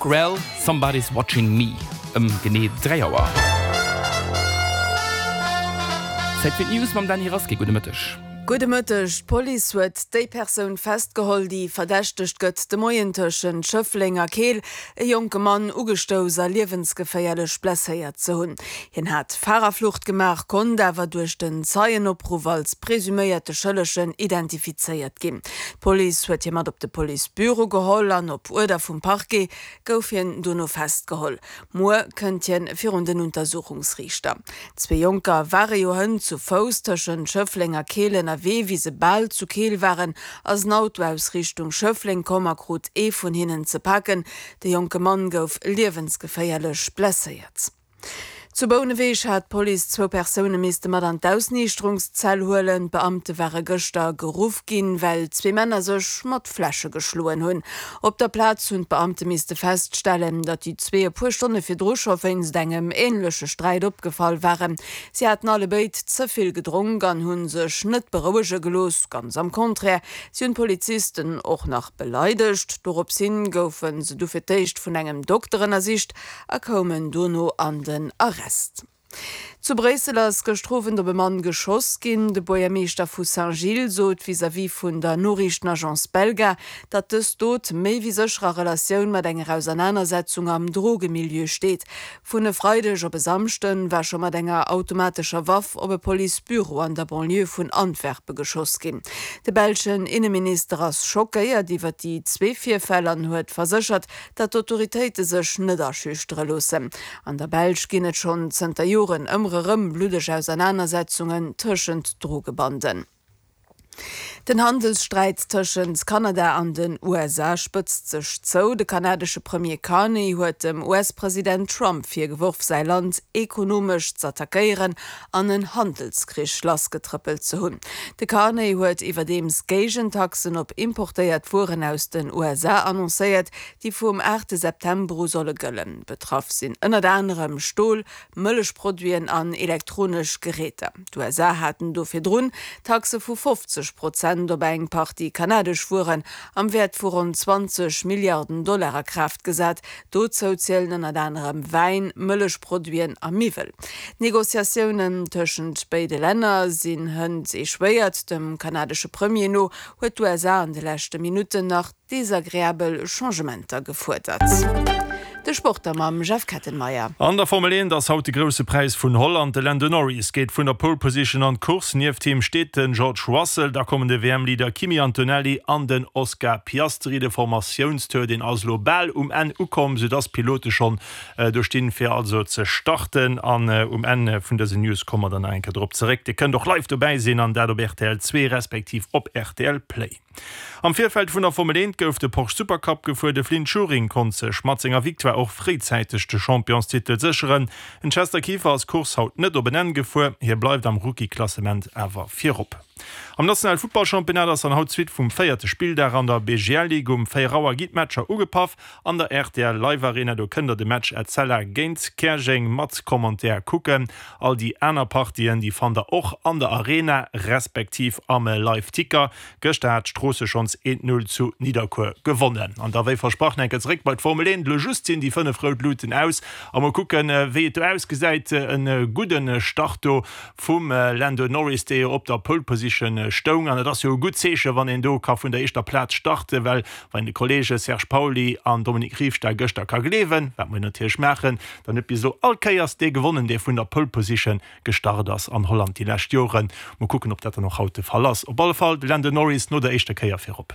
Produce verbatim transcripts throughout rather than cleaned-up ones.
Grell, Somebody's Watching Me, ëm genee dräi Auer. Zäit fir d'News mam Dany Rasqué. Gudde Mëtteg. Gudde Mëtteg. D'Police huet déi Persoun festgeholl, déi verdächtegt gëtt, de Moien tëschent Schëffleng a Keel e jonke Mann ugestouss a liewensgeféierlech blesséiert ze hunn. Hien hat Farerflucht gemaach, konnt awer duerch den Zeienopruff als presuméierte Schëllegen identifizéiert ginn. D'Police huet hie mat op de Policebüro geholl an op Uerder vum Parquet gouf hien dono festgeholl. Muer kënnt hien virun den Untersuchungsriichter. Zwee Jonker ware jo hënt zu Fouss tëschent Schëffleng a Keel ënnerwee. Wéi se bal zu Keel waren, ass en Auto aus Richtung Schëffleng komm a krut ee vun hinnen ze paken. De jonke Mann gouf liewensgeféierlech blesséiert. Zu Bouneweg hat d'Police zwou Persoune misste mat an d'Ausniichterungszell huelen. D'Beamte ware gëschter geruff ginn, well zwee Männer sech mat Fläsche geschloen hunn. Op der Plaz hunn d'Beamte misste feststellen, datt déi zwee e puer Stonne virdru scho wéinst engem änleche Sträit opgefall waren. Si haten allebéid ze vill gedronk an hu sech net berouege gelooss. Ganz am Contraire, si hunn d'Polizisten och nach beleidegt. Dorops hin goufe se du fir d'éischt vun engem Dokter ënnersicht a koumen dono an den Arrest. Zu Bréissel ass gëschter Owend op e Mann geschoss ginn. De Buergermeeschter vu Saint-Gilles sot vis-à-vis vun der Noriichtenagence Belga, datt dës Dot méi wéi sécher a Relatioun mat enger Ausernanersetzung am Drogemilieu steet. Vun e Freideg op e Samschde war scho mat enger automatescher Waff op e Policebüro an der Banlieue vun Antwerpe geschoss ginn. De belschen Inneminister ass schockéiert iwwer déi zwee Virfäll an huet verséchert, datt d'Autoritéite sech net aschüchtere loossen. An der Belsch ginn et schonn zënter Joren ëmmer erëm bluddeg Ausernanersetzungen tëschent Drogebanden. Den Handelssträit tëschent Kanada an den U S A spëtzt sech zou. De kanadesche Premier Carney huet dem U S-President Trump virgeworf, säi Land ekonomesch z'attackéieren an en Handelskrich lassgetrëppelt ze hunn. De Carney huet iwwerdeems Géigentaxen op importéiert Wueren aus den U S A annoncéiert, déi vum aachte September u solle gëllen. Betraff sinn ënnert anerem Stol, Mëllechproduiten an elektronesch Geräter. D'U S A haten do virdrun Taxe vu fofzeg Prozent op eng Partie kanadesch Wueren am Wäert vu ronn zwanzeg Milliarden Dollar a Kraaft gesat. Dozou zielen ënnert anerem Wäin, Mëllechproduiten a Miwwel. D'Negociatiounen tëschent béide Länner sinn hënt echouéiert. Dem kanadesche Premier no huet d'U S A an de leschte Minutten nach desagreabel Changementer gefuerdert. De Sport da mam Jeff Kettenmeyer. An der Formel eent ass haut de grousse Präis vun Holland. De Lando Norris geet vun der Pole Position an d'Course. Nieft him steet den George Russell, da kommen de W M-Leader Kimi Antonelli an den Oscar Piastri. De Formatiounstour, deen ass lo bal um Enn ukomm, soudass d'Pilote schonn, äh, do stinn, fir also ze starten. An, äh, um Enn vun dësen News komme mer dann nach eng Kéier drop zeréck. Dir kënnt och live dobäi sinn an dat op R T L zwee respektiv op R T L Play. Am Virfeld vun der Formel eent gouf de Porsche Supercup gefuer. De Flynt Schuring konnt sech mat senger Victoire och fréizäiteg de Championstitel sécheren. En Chester Kieffer ass Course haut net op en Enn gefuer. Hie bleift am Rookie-Klassement awer virop. Am Nationale Futtballchampionnat ass an haut d'Suite vum véierte Spilldag an der B G L League um véier Auer gi d'Matcher ugepaff. An der R T L Live Arena, do kënnt der de Match Etzella géint Käerjeng mat Commentaire kucken. All déi aner Partien, déi fannt der och an der Arena respektiv am Live-Ticker. Gëschter hat Stroosse schonns eent null zu Nidderkuer gewonnen. An da wéi versprochen enke zeréck bei d'Formel eent. Lo just sinn déi fënnef rout Luten aus. A mol kucken, wéi et do ausgesäit. En gudden Start do vum Lando Norris, dee jo op der Pole Position stoung. An et ass jo e gutt Zeeche, wann een do ka vun der éischter Plaz starten, well wann de Kollege Serge Pauly an Dominique Riefstahl gëschter ka gleewen, wat mer natierlech maachen, dann huet bis elo all Kéiers dee gewonnen, dee vun der Pole Position gestart ass an Holland déi lescht Joren. Mol kucken, ob dat dann och haut de Fall ass. Op alle Fall de Lando Norris no der éischter Kéier virop.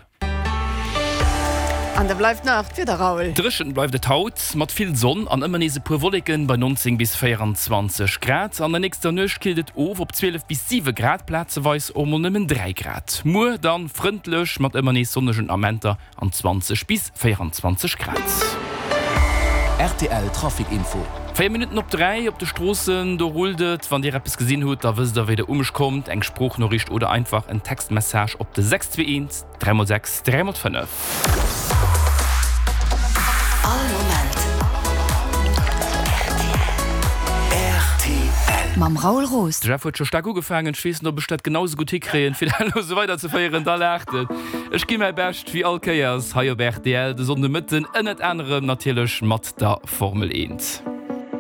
An da bleift nach d'Wieder, Raoul. Dréchen bleift et haut, mat vill Sonn an ëmmer nees e puer Wolleken bei neunzéng bis véierundzwanzeg Grad. An der nächster Nuecht killt et of op zwielef bis siwe Grad, plazeweis och mol nëmmen dräi Grad. Muer dann frëndlech mat ëmmer nees sonnegen Amenter an zwanzeg bis véierundzwanzeg Grad. R T L Trafic Info. Véier Minutten op dräi op de Stroossen, do rullt et. Wann Dir eppes gesinn hutt, da wësst der, wéi der um mech kommt. Eng Sproochnoriicht oder einfach en Textmessage op de sechs zwee eent dräi mol sechs dräi mol fënnef. All Moment. R T L. Mam Raoul Roos. De Jeff huet scho staark ugefaangen, ech weess net, ob ech dat genau esou gutt hikréien, fir dat elo esou weiderzeféieren. Da laacht en. Ech gi mäi Bescht, wéi all Kéiers hei op rtl de Sonndemëtten, ënnert anerem natierlech mat der Formel eent.